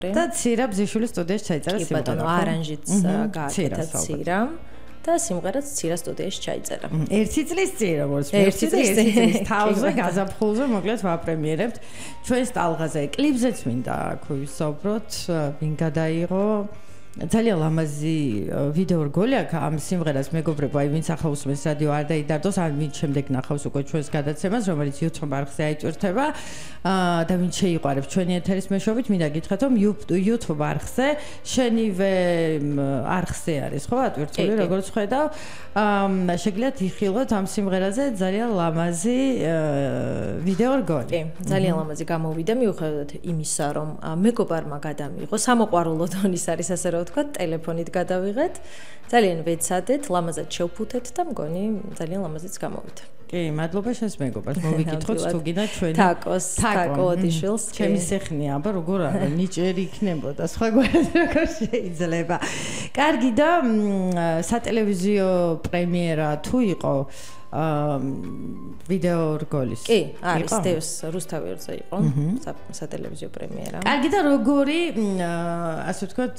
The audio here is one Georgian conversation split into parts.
და ცირა ბზიშვილის სტუდიაში ჩაიწერა სიმღერა. კი ბატონო, არანჟიც გააკეთა ცირა. და სიმღერაც ცირა სტუდიაში ჩაიწერა. ერთი წლის წინ როგორც ერთი წლის თავზე გაზაფხულზე მოკლედ ვაპრემიერებთ ჩვენს ტალღაზე. კლიპზეც მინდა აქ ვისაუბროთ, ვინ გადაიღო ძალიან ლამაზი ვიდეო რგოლი აქვს ამ სიმღერას მეგობრებო, აი ვინც ახლა უსმენს რადიო არ დაიდარდოს, ან ვინც შემდეგ ნახავს უკვე ჩვენს გადაცემას, რომელიც YouTube არხზე აიჭვირთება და ვინც შეიყვარებს ჩვენი ეთერის მეშვეობით, მინდა გითხრათ, რომ YouTube არხზე შენივე არხზე არის, ხო, ატვირთული, როგორც ხედავ, შეგიძლიათ იხილოთ ამ სიმღერაზე ძალიან ლამაზი ვიდეო რგოლი. კი, ძალიან ლამაზი გამოვიდა, მიუხედავად იმისა, რომ მეგობარმა გადამიღო, სამოყვარულო დონის არის ასე რომ ვთქვა, ტელეფონით გადავიღეთ, ძალიან ვეცადეთ, ლამაზად შევფუთეთ და მგონი ძალიან ლამაზიც გამოვიდა. კი, მადლობა შენს მეგობარს, მოვიკითხოთ თუ გინდა ჩვენი თაკო ოდიშვილს. ჩემი სეხნია, აბა როგორ არა, ნიჭერი იქნებოდა, სხვაგვარად როგორ შეიძლება. კარგი და სატელევიზიო პრემიერა თუ იყო ვიდეო რგოლის. კი, არის დევს რუსთავიორზე იყო სატელევიზიო პრემიერა. კარგი და როგორი ასე ვთქვათ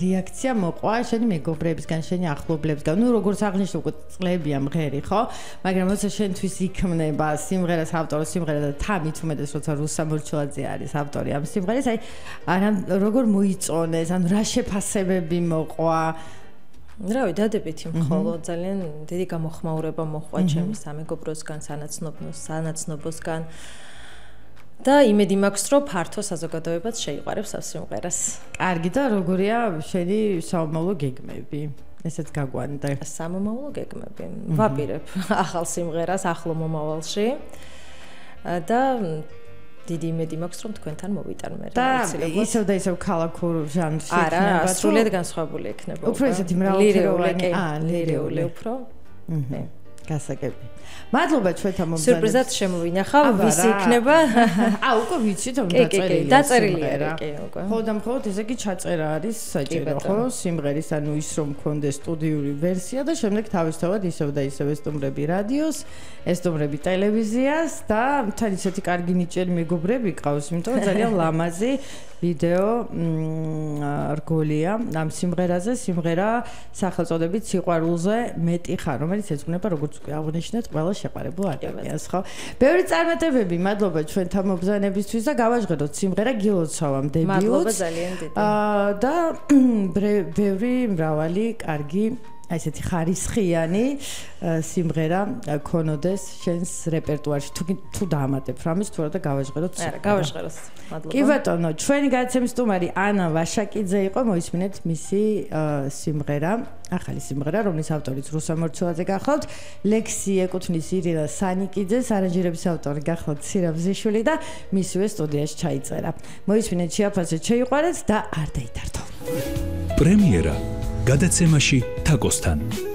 რეაქცია მოყვა შენი მეგობრებისგან, შენი ახლობლებისგან. ნუ როგორც აღნიშნე უკვე წლებია მღერი, ხო? მაგრამ როცა შენთვის იქმნება სიმღერას ავტორი სიმღერა და თამით უმეტეს როცა რუსა მორჩილაძე არის ავტორი ამ სიმღერის, აი როგორ მოიწონეს, ან რა შეფასებები მოყვა? რავი, დადებითი მხოლოდ ძალიან დიდი გამოხმაურება მოხდა ჩემი სამეგობროსგან, სანაცნობოსგან და იმედი მაქვს, რომ ფართო საზოგადოებაც შეიყვარებს ამ სიმღერას. კარგი და როგორია შენი საომავლო გეგმები? ესეც გაგვანდა. სამომავლო გეგმები. ვაპირებ ახალ სიმღერას ახლო მომავალში და დიდი იმედი მაქვს, რომ თქვენთან მოვიტანმე. და ისევ და ისევ ქალაქურ ჟანრში იქნება. არა, სრულიად განსხვავებული იქნება. უფრო ესეთი მრავალფეროვანი, ლირეული უფრო. გასაგები. მადლობა ჩვენთან მომზადეთ. სიურპრიზად შემოვინახავ, ვის იქნება? უკვე ვიცით, რომ დაწერილია. დაწერილია, კი, უკვე. ხო და მხოლოდ ესე კი ჩაწერა არის საჭირო, ხო? სიმღერის, ანუ ის რომ მქონდეს სტუდიური ვერსია და შემდეგ თავისთავად ისევ და ისევ ესტუმრები რადიოს, ესტუმრები ტელევიზიას და თან ისეთი კარგი ნიჭიერი მეგობრები ყავს, იმიტომ რომ ძალიან ლამაზი ვიდეო რგოლია ამ სიმღერაზე. სიმღერა სახელწოდებით სიყვარულზე მეტი ხარ, რომელიც ეძღვნება როგორც აღნიშნეთ ყველა შეყვარებულ ადამიანს, ხო? ბევრი წარმატებები, მადლობა ჩვენთან მობრძანებისთვის და გავაჟღეროთ სიმღერა გილოცავამ დებიუტს. მადლობა ძალიან დიდი. და ბევრი მრავალი კარგი აი ესეთი ხარისხიანი სიმღერა ქონოდეს შენს რეპერტუარში. თუ დაამატებ რამის თუ რა და გავაჟღეროთ. არა, გავაჟღეროთ. მადლობა. კი ბატონო, ჩვენი გადაცემის სტუმარი ანა ვაშაკიძე იყო, მოისმინეთ მისი სიმღერა, ახალი სიმღერა, რომლის ავტორიც რუსა მორჩილაძე გახლავთ, ლექსი ეკუთვნის ირინა სანიკიძეს, არანჟირების ავტორი გახლავთ ცირა ბზიშვილი და მისივე სტუდიაში ჩაიწერა. მოისმინეთ, შეაფასეთ, შეიყვარეთ და არ დაიდარდო. პრემიერა გადაცემაში თაკოსთან.